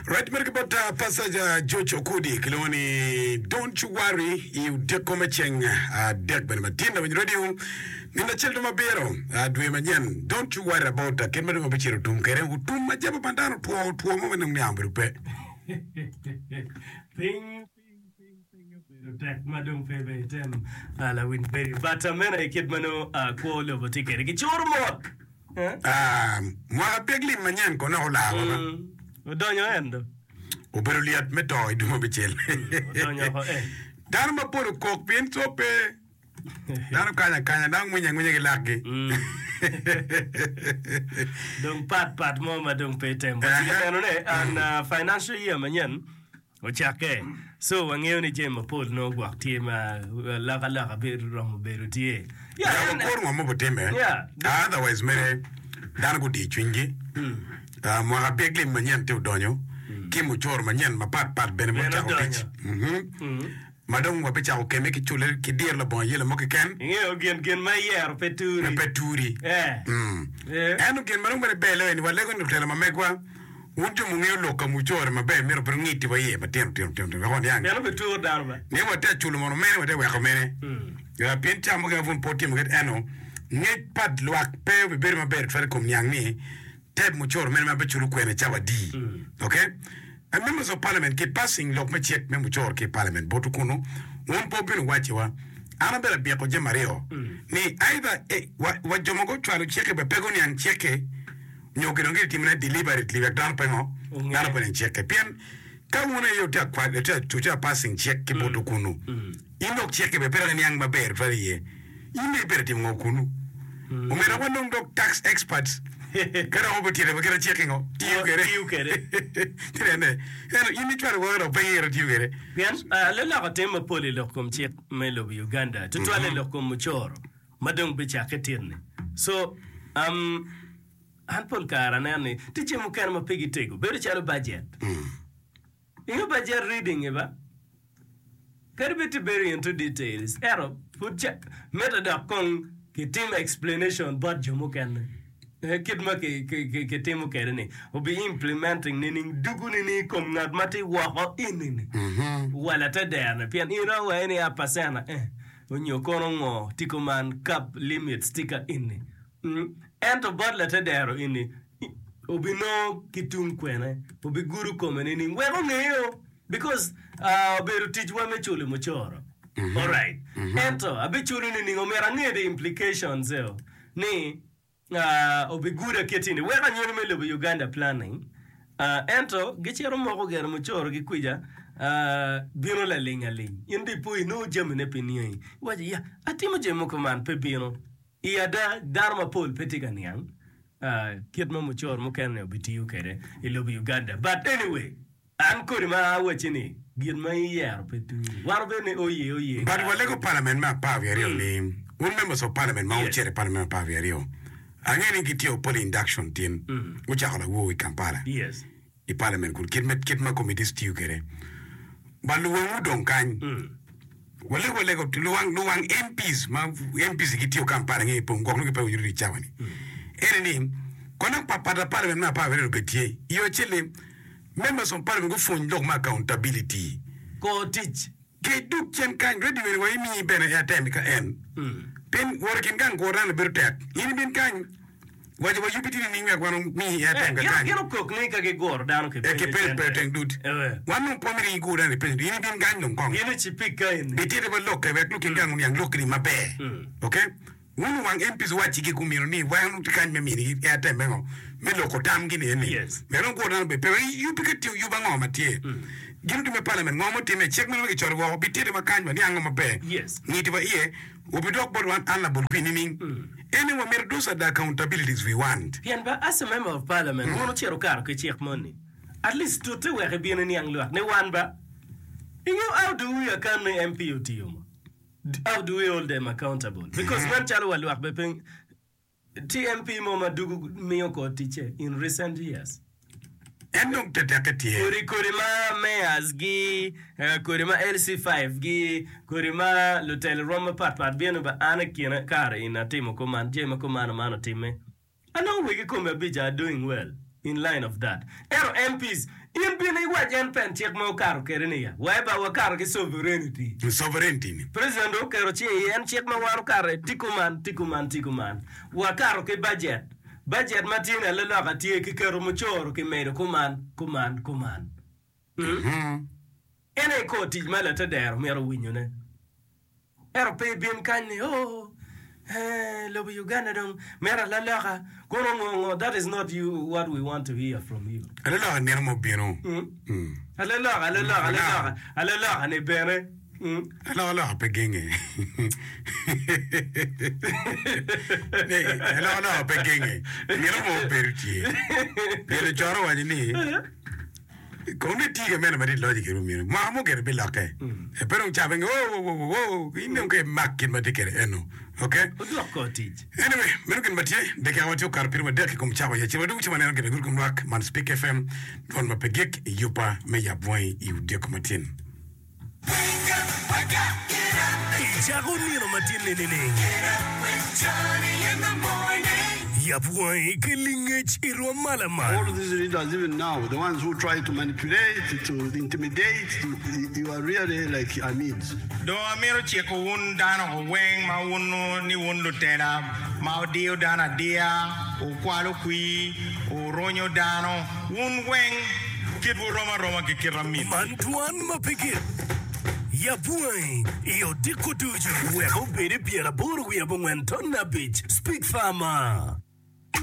Right mere ki bot uh, Pastor uh, George Okudi kilwongo ni Don't You Worry i odiko me ceng adek bene matin lawiny radio nino acel dong mabiro uh, dwe manyen Don't You Worry About uh, kit ma dong wabicito otum kwede otum ma jabo pa dano otwo otwo mo ma dong niang obedo pe. Piny piny piny piny obedo tek ma dong pe bene item uh, lawiny radio but uh, meno aye kit ma nongo uh, kwo lobo tye kwede gicuro mot. Ah, mwaka pek lim manyen kono olarwa ba. Mm, odonyo en do. Obedo lyet me to i dwe mabicel. Odonyo oko en. Dano mapol okok pien co pe. Dano kanyo akanya, dano ngwinyo angwinya ki lakgi. Mm. Dong pat pat mo ma dong pe item. Watye ka neno ne an uh, financial year manyen ocakke. So wangeyo ni jami mapol nongo gwok tye ma alokaloka romo bedo tye. Yeah, Yabo en- kor ngo mo butime. Yeah. Otherwise mere dano gudi cwinygi. Ah, mwaka pek lim manyen tye odonyo ki mucoro manyen mapat pat bene Bene mucako odonyo. tic. Mhm. Ma dong wabicako kemme ki culle ki diro labongo ayela mo keken. Ingeyo gin gin ma iyero pe turi. Ma pe turi. Eh. Mm. Eh. Ento gin ma dong bene ber loyo ni walego ni lutela ma megwa Wun jo mungeyo lok ka mucore maber myero bed wungiti wa iye matino tino tino tino wek waniang Pien obituro dano ba. ni watye ka culo mono mene watye ka weko mene. Pien ca mukene pud pe wutimo kit eno, ngec pa lwak pe obibedo maber tutwal i kom niang ni type mucoro mene ma biculo kwene cawa adi. Ok? And members of parliament ki passing lok me cik me mucoro ki i parliament botwu kunu, wun pe wubino wacciwa. An abedo abyeko jami aryo ni either eh, wa, wa jo ma gucwalo cik-ki bene pe guniang cik-ki, nyo gin dong gitimone deliberately wek dano pe ngo dano pe nen cikke pien ka wun aye wutye ka wutye ka passing cik ki botwu kunu in dok cikke bene pe dok iniang maber tutwal iye in dong ibedo timo ngo kunu omyero dok wanong dok tax experts ka dok obitito wa kit ma cikke ngo tiyo kwede Tiyo kwede. Ci nene ento in icwalo woko dok pe ingeyo tiyo kwede Pien leloko tim mapol i lok kom cik me lobo Uganda, tutwalle i lok kom mucoro. ma dong bicakke tin-ni. So, um, an pol kare aneno ni tye jami mukene ma pe gitego, bedo calo bajet. Ingeyo bajet reading-ngi ba? Kadi bed ti bedo into details, ento pud ca mitte dok kong kitim explanation bot jo mukene. Eh, kit ma ki, ki, ki, kitimo kwede ni, obi implementing nining, dugu nining i kom ngat ma tye woko ini-ni, wala te dero-ni, pien in romo waco ni a percent eh. Onyo kono ngo tye kuman cap limits tye ka eni ento bot latedero eni obinongo ki tung kwene obigudo kome nining wek ongeyo because obedo ticwa me culo mucoro alright ento abiculo nining omyero ange the implications eo ni Obiguda kit ni weko anyogi me lobo Uganda planning ento gicito moko gire mucoro gi kwica bino laling aling in dong ipo inongo jami ne pe niangi iwaco ya atimo jami mogo man pe bino i ada dano mapol pe tye ka niang kit ma mucoro mukene ni obitiyo kwede i lobo Uganda but anyway An kodi ma awacci ni, gin ma iyero pe turi. Wan obedo ni oye oye But kare. walego parliament me 12 ni wun members of parliament ma Yes. wucito i parliament me 12 angeyo ni gitye poli induction tin gucako lawor i Kampala Yes. i parliament kun kit me kit ma committees tiyo kwede but luwangwu dong kany walego walego luwang luwang MPs ma MPs gitiyo Kampala nge pong gwok nongo gipe winyo i cawa ni ene ni kono pa pa parliament me 12 obed tye i yo acel-li Members of parliament gupwony lok me accountability. Kor tic. Ki duk cen kany radio eni wa imii bene airtime ka en pien wot ikin gang kwo dano bedo tek in ibin kany waco wa yubi tye nining wek wan omii airtime ka kany Gin okok ni ka giguro dano ki Eh, ki penyo penyo cente. teng dud wan dong pe wamito igur dano i penyo in ibin kany dong kong Gin ocipik ka eni. Bititi wa lokke wek lukin gang oniang lokki ni maber okay Wun wang MPs owacci gumino ni wan tye kany me minigi airtime me ngo me loko tamgi ni eni wek dong gwok dano obed pe wek yubbi ka tiyo yub ango ma tye gin otimme parliament ngo mutimme cik meno ma kicoto woko bititi wa kany waniango maber ngiti wa iye obidok bot wan an labol kwir nining eni wamito those are the accountabilities we want. Pien ba as a member of parliament wun wucito wukato ki cik moni at least tute wek ibin iniang lwak ni wan ba ingeyo how do we account ni MP otiyo mo. How do we hold them accountable? Because nen calo wa lwak be pe tye MP mo ma dugu miyo kor ticce in recent years. En dong tetekke tye. Kodi kodi ma mayors gi, kodi ma LC5 gi, kodi ma lutelo rwom mapat pat bino ba an i kine kare eni atimo kuman, jami ma kuman man otimme. Anongo wegi kome abica are doing well. In line of that. Ento MPs, in bin iwac en pen cik ma okato kede ni ya, wa ba wakato ki sovereignty. Sovereignty ni. President dong oketo cinge iye en cik ma wan okato tye kuman, tye kuman, tye kuman. Wakato ki budget. Budget ma tye ni alaloka tye ki keto mucoro ki medo kuman, kuman, kuman. En aye kor tic ma latedero myero owinyone. Ento pe ibin kany ni oh eh lobo Uganda dong mito alaloka kono ngo ngo that is not you what we want to hear from you. Alaloka nino mo bino. Alaloka alaloka alaloka alaloka ni bene. Alokaloka pe genge. Alokaloka pe genge. Nino mo obedo tye. Pien ocoro owaco ni Kono ni tye ka mene ma tye loc kede omyero mwaka mo gire bilokke. Pe dong cabe nge oh oh oh in dong ka imak gin ma tye kede eno. Ok. Odwok kor tic. Anyway, meno gin ma tye. Dakika ma tye okato piri wadek i kom cawa ya cen wadwogo ci waneno gin agut kom lwak man Speak FM dwon ma pe gik i yubba me yab wangi i odyeko matin. Icako nino matin-ni nining? Yab wangi ki lingec i rwom ma lamal. Dong amito ciko wun dano weng ma wunnu ni wun lutela ma wudiyo dano adiya, wukwalo kwir, wurunyo dano, wun weng kitwu rom aroma ki kit aminwu. Man dwan ma pe gik. Yab wangi i odiko ducu wek obed i pyeraboro wiye abongwen ton abic. Speak Farmer.